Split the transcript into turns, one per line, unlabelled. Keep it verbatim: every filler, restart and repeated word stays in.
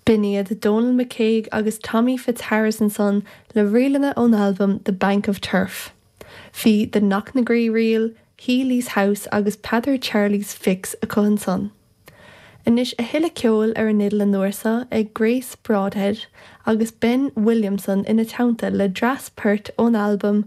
B'in iad Donal McCague agus Tommy Fitzharris ansan le ríleanna ón albam The Bank of Turf. Bhí The Knocknagree Reel, Healy's House agus Peadar Charlie's Fix acu ansan. Anois a thuilleadh ceoil ar an fhidil an uair seo ag Grace Broadhead agus Ben Williamson ina teannta le dreas poirt ón albam